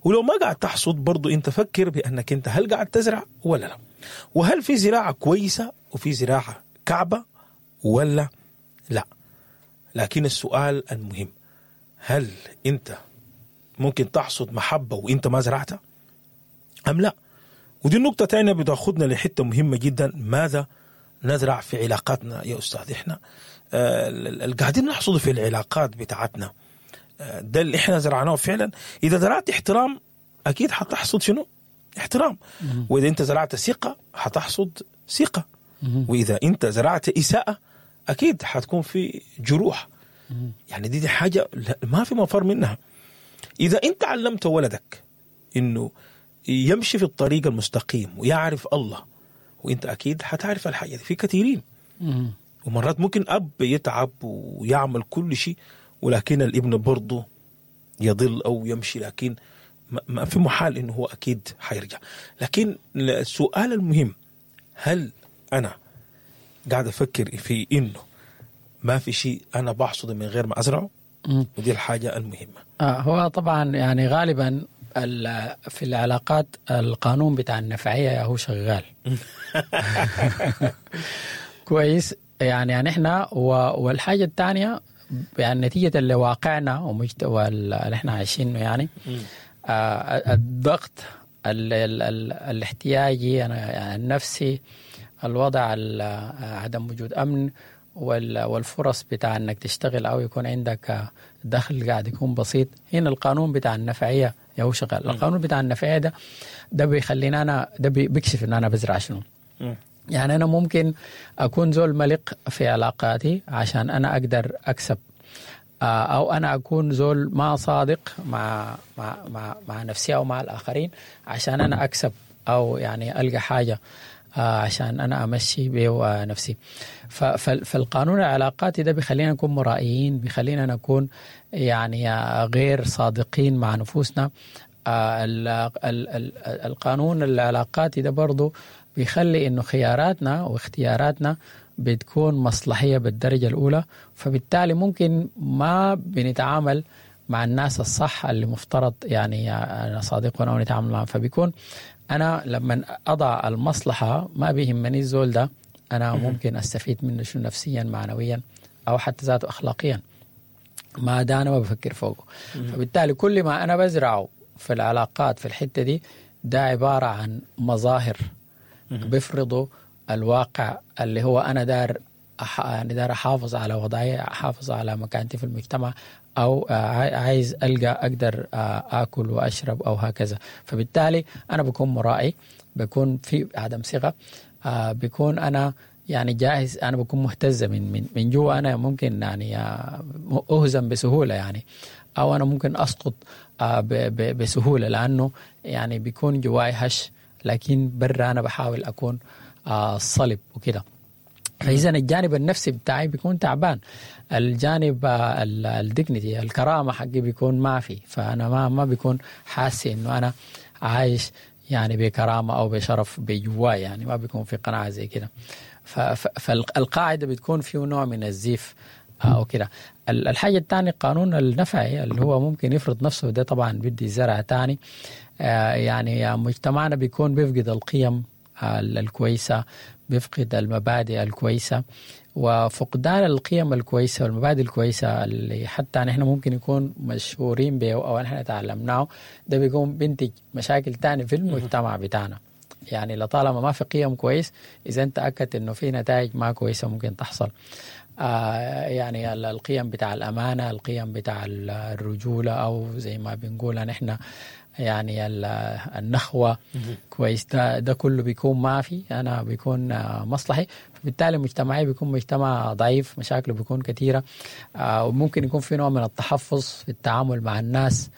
ولو ما قاعد تحصد برضو انت فكر بانك انت هل قاعد تزرع ولا لا، وهل في زراعة كويسة وفي زراعة كعبه ولا لا. لكن السؤال المهم، هل انت ممكن تحصد محبة وانت ما زرعتها ام لا؟ ودي النقطة تانية بتاخدنا لحتة مهمة جدا، ماذا نزرع في علاقاتنا يا أستاذ؟ إحنا القاعدين نحصده في العلاقات بتاعتنا ده اللي إحنا زرعناه فعلا. إذا زرعت احترام أكيد حتحصد شنو؟ احترام. وإذا أنت زرعت ثقة حتحصد ثقة. وإذا أنت زرعت إساءة أكيد حتكون في جروح. يعني دي حاجة ما في مفر منها. إذا أنت علمت ولدك إنه يمشي في الطريق المستقيم ويعرف الله، وانت اكيد حتعرف الحاجة دي. في كثيرين ومرات ممكن اب يتعب ويعمل كل شيء، ولكن الابن برضه يضل او يمشي، لكن ما في محال انه هو اكيد حيرجع. لكن السؤال المهم، هل انا قاعد افكر في انه ما في شيء انا بحصده من غير ما ازرعه؟ ودي الحاجة المهمة. هو طبعا يعني غالبا في العلاقات القانون بتاع النفعية هو شغال كويس. يعني احنا والحاجة الثانية يعني نتيجة اللي واقعنا واللي احنا عايشينه، يعني الضغط الاحتياجي يعني النفسي، الوضع عدم وجود أمن، والفرص بتاع انك تشتغل او يكون عندك دخل قاعد يكون بسيط. هنا القانون بتاع النفعية هو شغال. القانون بتاع النفعية ده بيخلينا انا، ده بيكشف ان انا بزرع شنو. يعني انا ممكن اكون زول ملق في علاقاتي عشان انا اقدر اكسب، او انا اكون زول ما صادق مع مع مع, مع نفسي او مع الاخرين عشان انا اكسب، او يعني القى حاجة عشان أنا أمشي به نفسي. فالقانون العلاقاتي ده بيخلينا نكون مرائيين، بيخلينا نكون يعني غير صادقين مع نفوسنا. القانون العلاقاتي ده برضو بيخلي إنه خياراتنا واختياراتنا بتكون مصلحية بالدرجة الأولى، فبالتالي ممكن ما بنتعامل مع الناس الصح اللي مفترض يعني صادقنا ونتعامل معهم. فبيكون أنا لما أضع المصلحة ما بيهمني الزول ده أنا ممكن أستفيد منه شنو نفسيا معنويا أو حتى ذاته أخلاقيا، ما ده أنا ما بفكر فوقه. فبالتالي كل ما أنا بزرعه في العلاقات في الحتة دي ده عبارة عن مظاهر بيفرضوا الواقع اللي هو أنا دار يعني دار أحافظ على وضعي، أحافظ على مكانتي في المجتمع، أو عايز ألقى أقدر آكل وأشرب أو هكذا. فبالتالي أنا بكون مرائي، بكون في عدم ثقة، بكون أنا يعني جاهز، أنا بكون مهتزة من جوا، أنا ممكن يعني أهزم بسهولة يعني، أو أنا ممكن أسقط بسهولة، لأنه يعني بيكون جواي هش، لكن برا أنا بحاول أكون صلب وكده. فإذا الجانب النفسي بتاعي بيكون تعبان، الجانب ال dignity الكرامة حقي بيكون ما في، فأنا ما بيكون حاسس إنه أنا عايش يعني بكرامة أو بشرف بجواي، يعني ما بيكون في قناعة زي كده. فالقاعدة بتكون فيه نوع من الزيف أو كده. الحاجة الثانية قانون النفعي اللي هو ممكن يفرض نفسه، ده طبعا بدي زرع تاني. يعني مجتمعنا بيكون بيفقد القيم الكويسة، بيفقد المبادئ الكويسة، وفقدان القيم الكويسة والمبادئ الكويسة اللي حتى نحن ممكن يكون مشهورين به أو نحن تعلمناه، ده بيكون بينتج مشاكل تاني في المجتمع بتاعنا. يعني لطالما ما في قيم كويس، إذا أنت أكدت إنه في نتائج ما كويسة ممكن تحصل. يعني القيم بتاع الأمانة، القيم بتاع الرجولة، أو زي ما بنقول نحن يعني النخوة كويس، ده كله بيكون ما في، أنا بيكون مصلحي. فبالتالي مجتمعي بيكون مجتمع ضعيف، مشاكله بيكون كثيرة، وممكن يكون في نوع من التحفظ في التعامل مع الناس،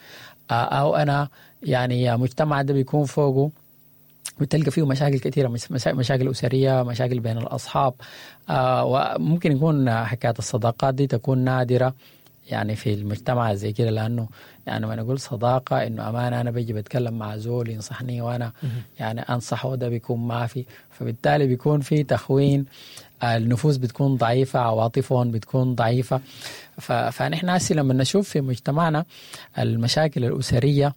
أو أنا يعني مجتمع ده بيكون فوقه بتلقى فيه مشاكل كثيرة، مشاكل أسرية، مشاكل بين الأصحاب، وممكن يكون حكاية الصداقات دي تكون نادرة يعني في المجتمع زي كده، لأنه يعني ما نقول صداقة إنه أمانة أنا بيجي بتكلم مع زول ينصحني وأنا يعني أنصحه، ده بيكون ما في. فبالتالي بيكون في تخوين، النفوس بتكون ضعيفة، عواطفهم بتكون ضعيفة. فنحن هسي لما نشوف في مجتمعنا المشاكل الأسرية